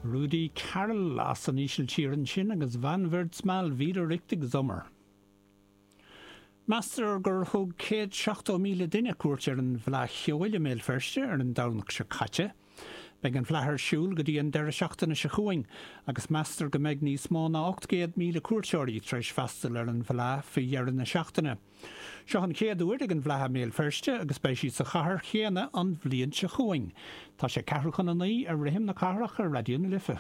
Rudi Carrell as an Ísiltír ansin agus Wann wird's mal wieder richtig Sommer. Meastar gur thug 170,000 duine cuairt ar an bhFleadh Cheoil i mBéal Feirste ar an Domhnach seo caite. Beidh an Fhleadh ar siúl go dtí an deireadh seachtaine seo chugainn agus meastar go mbeidh níos mó ná 800,000 cuairteoirí tar éis freastal ar an bhFleadh faoi dheireadh na seachtaine. Seo an chéad uair ag an bhFleadh i mBéal Feirste agus beidh sí sa chathair chéanna an bhliain seo chugainn. Tá sé ceathrú chun a 9 ar Rithim na Cathrach ar Raidió na Life.